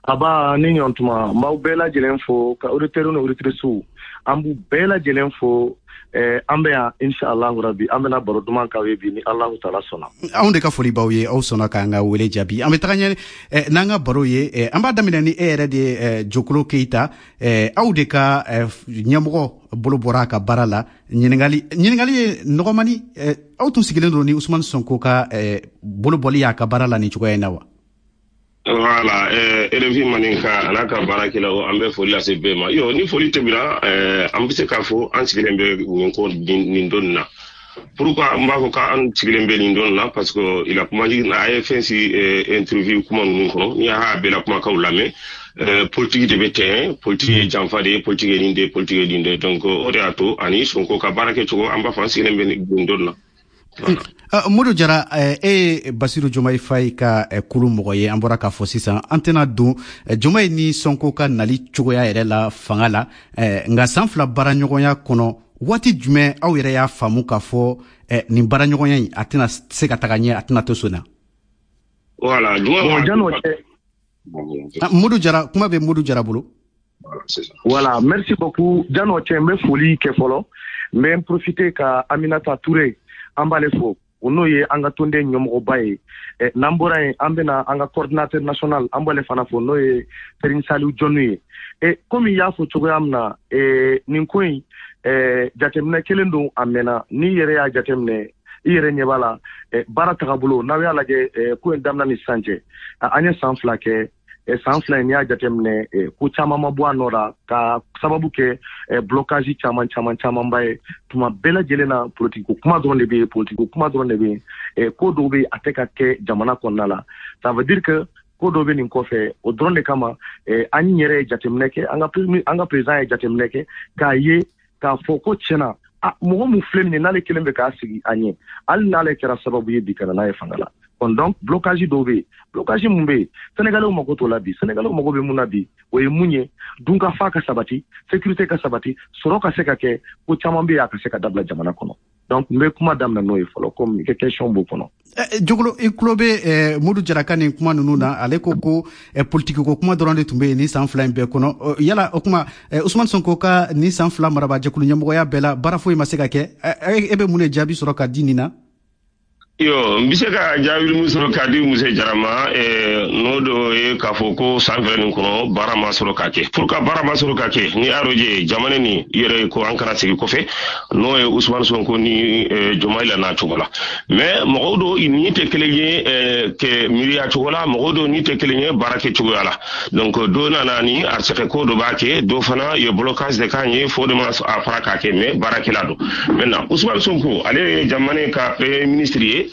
Aba ni ɲɔntuma, n b'aw bɛɛ lajɛlen fo, ka auditeurs ni auditrices, an b'u bɛɛ lajɛlen fo. An bɛ yan, inshallah rabi, an bɛna baro duman k'aw ye bi ni Alahu taala sɔnna. Anw de ka foli b'aw ye, aw sɔnna k'an ka wele jaabi. An bɛ taga ɲɛ n'an ka baro ye. An b'a daminɛ ni e yɛrɛ de ye, Jokolo Keyita. Aw de ka ɲɛmɔgɔ bolo bɔra a ka baara la. Ɲininkali ye nɔgɔmani: aw tun sigilen don ni Usumani Sonko ka bolo bɔli y'a ka baara la nin cogoya in na wa? Voilà, RFI Maninka a n'a ka baarakɛlaw, an bɛ foli lase bɛɛ ma. Yo, ni foli tɛmɛna, an bɛ se k'a fɔ an sigilen bɛ nin ko nin don nin na. Pourquoi n b'a fɔ k'an sigilen bɛ nin don nin na? Parce que il a kuma a ye fɛn si interview kuma ninnu kɔnɔ, n'i y'a bɛɛ la kumakanw lamɛn, politique de bɛ tɛn, politique ye janfa de ye, politique ye nin de ye, politique ye nin de ye. Donc o de y'a to ani Sonko ka baara kɛcogo, an b'a fɔ an sigilen bɛ nin don nin na. Modu Jara, e ye Basiru Jomayi Fayi ka kulu mɔgɔ ye. An bɔra k'a fɔ sisan, an tɛna don Jomayi ni Sonko ka nali cogoya yɛrɛ la fanga la. Nka san 2 baaraɲɔgɔnya kɔnɔ, waati jumɛn aw yɛrɛ y'a faamu k'a fɔ nin baaraɲɔgɔnya in, a tɛna se ka taga ɲɛ, a tɛna to so na? Voilà. Bon, jan'o cɛ. Modu Jara, kuma bɛ Modu Jara bolo. Voilà, merci beaucoup. Jan'o cɛ, n bɛ foli kɛ fɔlɔ. N bɛ n profiter ka Aminata Touré, an b'ale fo, o n'o ye an ka tɔnden ɲɛmɔgɔba ye. N'an bɔra yen, an bɛna an ka coordinateur national, an b'ale fana fo, n'o ye Serigne Saliou Dione ye. Komi i y'a fɔ cogoya min na, nin ko in, jateminɛ kelen don, a mɛnna. N'i yɛrɛ y'a jateminɛ, i yɛrɛ ɲɛ b'a la, baara tagabolo, n'aw y'a lajɛ, ko in daminɛ ni sisan cɛ, an ye san 2 kɛ. San 2 in, n'i y'a jateminɛ, ko caman ma bɔ a nɔ la, ka sababu kɛ blocage caman caman camanba ye. Tuma bɛɛ lajɛlen na, politique ko kuma dɔrɔn de bɛ yen, politique ko kuma dɔrɔn de bɛ yen. Ko dɔw bɛ yen, a tɛ ka kɛ jamana kɔnɔna la. Ça veut dire que ko dɔ bɛ nin kɔfɛ. O dɔrɔn de kama, an yɛrɛ ye jateminɛ kɛ, an ka président ye jateminɛ kɛ k'a ye k'a fɔ ko tiɲɛna, a mɔgɔ mun filɛ nin ye, n'ale kelen bɛ k'a sigi a ɲɛ, hali n'ale kɛra sababu ye bi ka na n'a ye fanga la. Bon, donc blocage dɔw bɛ yen. Blocage mun bɛ yen, Sénégalais mako t'o la bi. Sénégalais mako bɛ mun na bi, o ye mun ye? Dunkafa ka sabati, sécurité ka sabati, sɔrɔ ka se ka kɛ, ko caman bɛ yen, a ka se ka dabila jamana kɔnɔ. Donc n bɛ kuma daminɛ n'o ye fɔlɔ, komi i ka question b'o kɔnɔ. Jogolo, i tulo bɛ Modu Jara ka nin kuma ninnu na. Ale ko ko politiki ko kuma dɔrɔn de tun bɛ yen nin san 2 in bɛɛ kɔnɔ. Yala o kuma, Usumani Sonko ka nin san 2 marabajɛkulu ɲɛmɔgɔya bɛɛ la, baara foyi ma se ka kɛ, e bɛ mun de jaabi sɔrɔ ka di nin na? Yo, n bɛ se ka jaabi min sɔrɔ k'a di Musa Jara ma, n'o dɔ ye k'a fɔ ko san 2 nin kɔnɔ, baara ma sɔrɔ ka kɛ. Pour que baara ma sɔrɔ ka kɛ, ni y'a jamana ni yɛrɛ ko an kana segin kɔfɛ, n'o ye Usumani Sonko ni Jomayi la n'a cogo la. Mais mɔgɔw dɔw ni tɛ kelen ye kɛ miiriya cogo la, mɔgɔw dɔw ni tɛ kelen ye baara kɛ cogoya la. Donc dɔ nana ni arsɛkɛ ko dɔ b'a kɛ, dɔ fana ye blocage de k'an ye, fo de ma a fara k'a kɛ, mais baarakɛla don. Maintenant, Usumani Sonko, ale ye jamana ka premier ministre ye,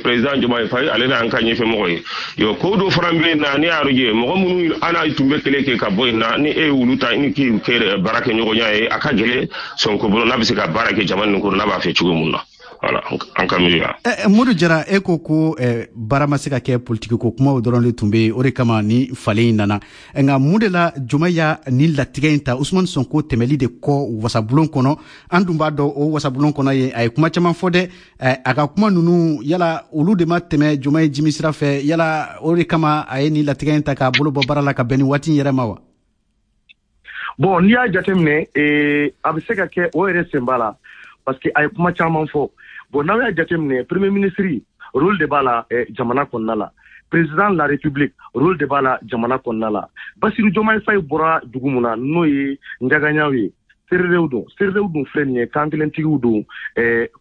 président Diomaye Faye, ale n'an ka ɲɛfɛmɔgɔ ye. Yo, ko dɔ fana bɛ yen na, ne y'a ye mɔgɔ minnu an n'a tun bɛ kɛlɛ kɛ ka bɔ yen na, ni e ye wulu ta, i ni k'i kɛ baara kɛ ɲɔgɔnya ye, a ka gɛlɛn Sonko bolo n'a bɛ se ka baara kɛ jamana nin kɔnɔ n'a b'a fɛ cogo mun na. Voilà, an ka miiriya. Modu Jara, e ko ko baara ma se ka kɛ, politiki ko kumaw dɔrɔn de tun bɛ yen, o de kama ni falen in nana. Nka mun de la Joma y'a nin latigɛ in ta, Usumani Sonko tɛmɛli de kɔ wasabulon kɔnɔ? An dun b'a dɔn, o wasabulon kɔnɔ yen, a ye kuma caman fɔ dɛ. A ka kuma ninnu, yala olu de ma tɛmɛ Joma ye jimi sira fɛ? Yala o de kama a ye nin latigɛ in ta k'a bolo bɔ baara la ka bɛn ni waati in yɛrɛ ma wa? Bon, n'i y'a jateminɛ, a bɛ se ka kɛ o yɛrɛ sen b'a la, parce que a ye kuma caman fɔ. Bon, n'aw y'a jateminɛ, premier ministre, rôle de b'a la jamana kɔnɔna la. Président de la République, rôle de b'a la jamana kɔnɔna la. Basiru Diomaye Faye bɔra dugu mun na, n'o ye Njagaɲaw ye, Sererew don. Sererew dun filɛ nin ye, kan kelentigiw don.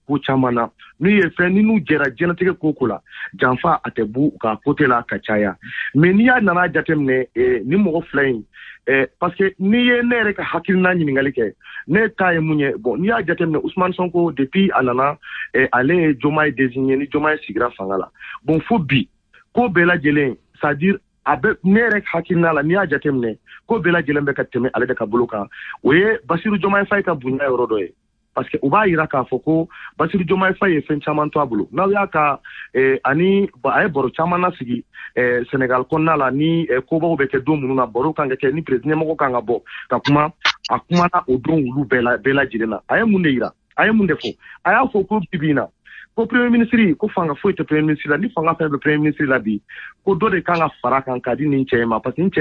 Ko caman na, n'u ye fɛn ni n'u jɛra diɲɛlatigɛ ko ko la, janfa a tɛ b'u ka côté la ka caya. Mais n'i y'a nana jateminɛ, ni mɔgɔ fila in, parce que n'i ye ne yɛrɛ ka hakilina ɲininkali kɛ, ne ta ye mun ye? Bon, n'i y'a jateminɛ, Ousmane Sonko, depuis a nana, ale ye Diomaye désigné, ni Diomaye sigira fanga la, bon, fo bi, ko bɛɛ lajɛlen, c'est à dire a bɛ ne yɛrɛ hakilina la, n'i y'a jateminɛ, ko bɛɛ lajɛlen bɛ ka tɛmɛ ale de ka bolo kan. O ye Basiru Diomaye Faye ka bonya yɔrɔ dɔ ye, parce que u b'a yira k'a fɔ ko Basiru Diomaye Faye ye fɛn caman to a bolo. N'aw y'a ka ani a ye baro caman lasigi Sénégal kɔnɔna la, ni kobaw bɛ kɛ don minnu na, baro kan ka kɛ, ni président ɲɛmɔgɔ kan ka bɔ ka kuma, a kumana o don olu bɛɛ la, bɛɛ lajɛlen na. A ye mun de yira? A ye mun de fɔ? A y'a fɔ ko bi bi in na, ko premier ministre, ko fanga foyi tɛ premier ministre la. Ni fanga fɛn bɛ premier ministre la bi, ko dɔ de kan ka fara kan k'a di nin cɛ in ma, parce que nin cɛ